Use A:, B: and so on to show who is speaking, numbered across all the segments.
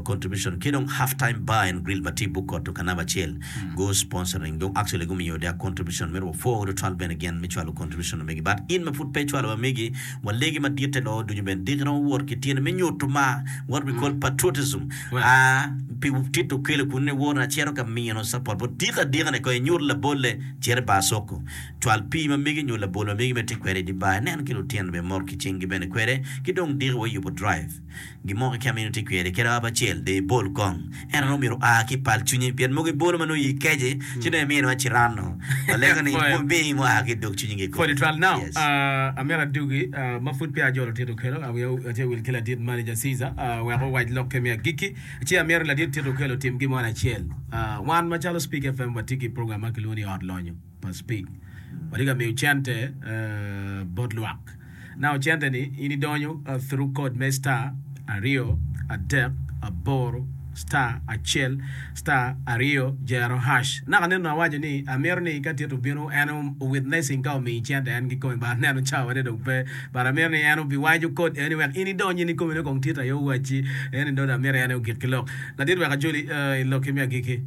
A: Contribution ki dong Half Time Bar and Grill ma tye i Bukoto ka namba acel gu sponsoring dong actually gumiyo their contribution myero wapwo tutwal bene gin me cwalo contribution omegi but in ma pud pe icwalo wa megi walegi maditte loo ducu bene diki romo wot ki tyene me nyuto mar what we call patriotism aa pi tito kelo kun ni wot acito ka mino support but diki adika ni kong inyut labolle cit i bar soko cwal pii ma megi nyo labol ma megi ma itye kwede i di bar inen ki lutino bene mot ki cinggi bene kwede ki dong diki wa yubo drive. Gin mo keken ma in itye kwede, kadi ap acel, dong ibol kong. En onongo myero oa ki i pal cwinyi, pien mogo ibolo ma nongo iyi kece, ci dong iminiwa ciranno. Walego ni mi mua ki i dog cwinyi kikome.
B: Pwod itwal. Now,
A: Yes.
B: amito adugi, ma pud peya ajolo Tito Okello, wiya tye wil ki ladit manager Caesar, wek owac lokke me agikki. Ci amito ni ladit Tito Okello otim gin mo acel. Wan macalo Speak FM watye ki program ma kilwongo ni Ot Lonyo. pa Speke. Watye ka miyo cente bot lwak. Now cente ni in idonyo through code me star aryo adek aboro star acel star aryo jero hash. Naka neno awaco ni amito ni ka Tito obino en o witnessing ka omiyi cente en kikome but aneno cawa ne dong pe but amito ni en obiwaco code eni wek in idony in ikomi nongo kong Tito aye owacci eni dong amito en aye ogik ki lok. Ladit wek ajoli i lokki me agikki.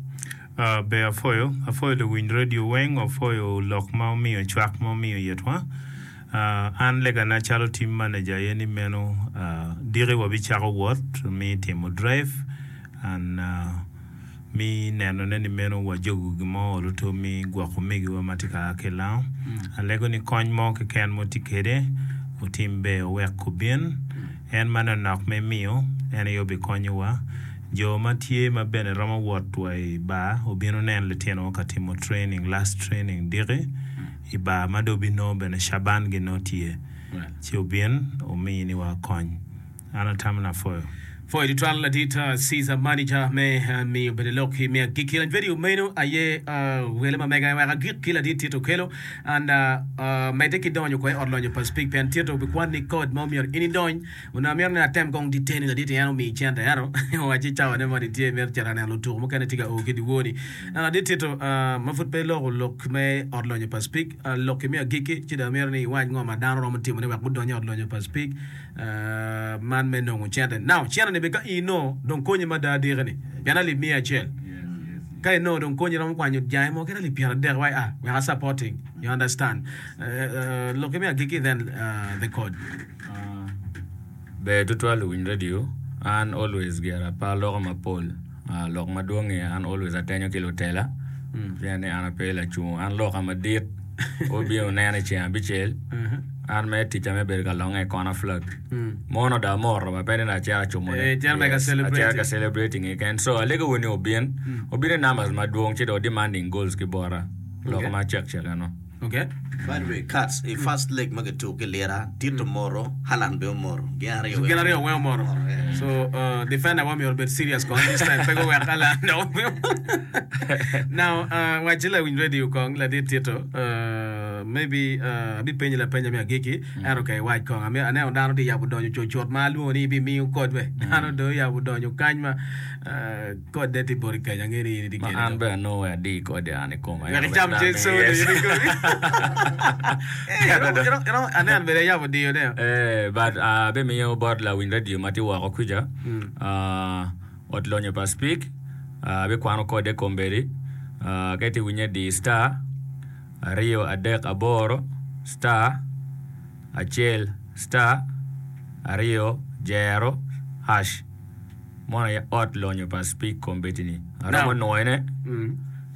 C: Ber apwoyo, apwoyo luwiny radio weng, apwoyo lok ma wumiyo cwak ma wumiyo itwa. An legana calo team manager aye ni meno diki wabicako wot me timo drive and me nenone ni meno wajogo gin mo oluto me gwoko omegiwa ma tye ka a ki i lango. Alego ni kony mo keken ma wutye kwede wutim ber wuwek obin. En manonok me miyo en aye obikonyowa. Jo ma tye ma bene romo wot wa i bar obino nen litino ka timo training, last training diki i bar ma dong obinongo bene Shaban gi nongo tye ci obin omini wa kony. An atamo ni apwoyo.
B: Pwoyo tutwal ladit Caesar manager me miyo bene lok me agikki. Lany vedio meno aye wele ma mega wek agik ki ladit Tito Okello and medde ki donyo ko i ot lonyo pa Speke pien Tito obikwanni code ma omyero in idony. Onongo amito ni atem kong diteni ladit en omiyi cente ento owacci cawane moni tye imito cito ka neno lutuku mukene tye ka o ki dyewor-ni. Ladit Tito ma pud pe iloko lok me ot lonyo pa Speke lokki me agikki ci dong amito ni iwac ngo ma dano romo timone wek gudony i ot lonyo pa Speke man me nongo cente. Now cente-ni bene ka in inongo dong konyi mada diki-ni pien alip miya acel ka inongo dong konyi romo kwanyo jange mo kadi alip pyeradek wai a wek a supporting you understand lokki me agikki then the code.
D: Ber tutwal luwiny radio, an always gira pe aloko mapol, lok madwongi an always atenyo ki lutela pien ni an ape lacungo an loka madit wubino wunena i ceng abicel an mere ticca me bedo ka longe i kona flag mono dong amoto ba pe ni dong acito acumone acito ka celebrating keken so alego wu ni wubin wubin i numbers madwong ci dong demanding goals ki bota lok ma cek cek eno.
B: Okay.
A: By the way, Cats i first leg ma kituko ki lira, Tito omoro, Haaland bene omoro. Gin aryo
B: weng. Gin aryo weng omoro.
A: Yeah.
B: So uh, defender wa myero obed serious kong this time pe guwek Haaland. Now, uh, wacci lawiny radio kong ladit Tito, uh, maybe uh, abipenyi lapenya me agikki, ento ka iwac kong. Ami- Aneno dano tye yabo donyo cucut ma alwongo ni ibimiyo kodwe. Dano dong oyabo donyo kany ma uh, Kodde tye boti kany, angeyo ni in itye
D: Ma
B: kede
D: an
B: dong.
D: bene anongo wek adi kode an i koma.
B: Wek icam cen soda
D: Yes.
B: in ikomi. Eh, iromo- iromo- iromo- aneno bene yabo diyo ne.
D: Eh, but ah, abimiyo bot lawiny radio ma tye woko kuca ah, ot lonyo pa Speke ah, abikwano kode kombeddi ah, ka itye winye di star 238 star acel star aryo jero hash. Mono aye ot lonyo pa Speke kombeddi-ni. Aromo nwoyone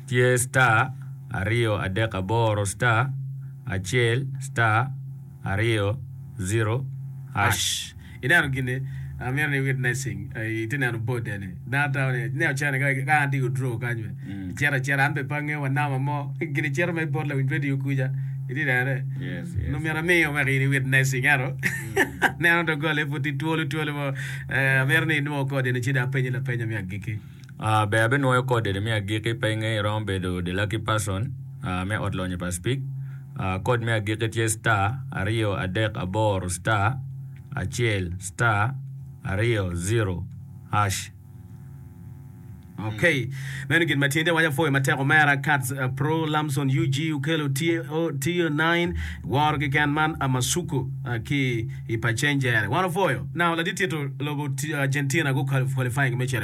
D: tye star 238 star acel star aryo zero hash.
B: Ineno gin-ni, amito ni witnessing, itye neno board eni. Dano tamo ni, ineno cene ka an atye i withdraw kany be, icito acita an bene pe angeyo wa namba mo, gin icito mere bot lawiny radio kuca, itye nenone? Nongo myero amiyo wek in i witnessing ento neno doggola pud tye twolo twolo mo. Eh, amito ni inwo kodi ni ci dong apenyi lapenya me agikki.
D: Ah, ber abinwoyo kodi ni me agikki pe inge iromo bedo the lucky person ah, me ot lonyo pa Speke. Ah, kod me agikki tye star aryo adek aboro star acel star aryo zero hash.
B: Ok, meno gin ma tye waco apwoyo matek omera Cats uh, Pro Lamson UG okelo TO9 woro keken man Amasuku uh, ki i Pacenjere. Wan opwoyo. Now ladit tito lobo Argentina gu qualifying me cito i.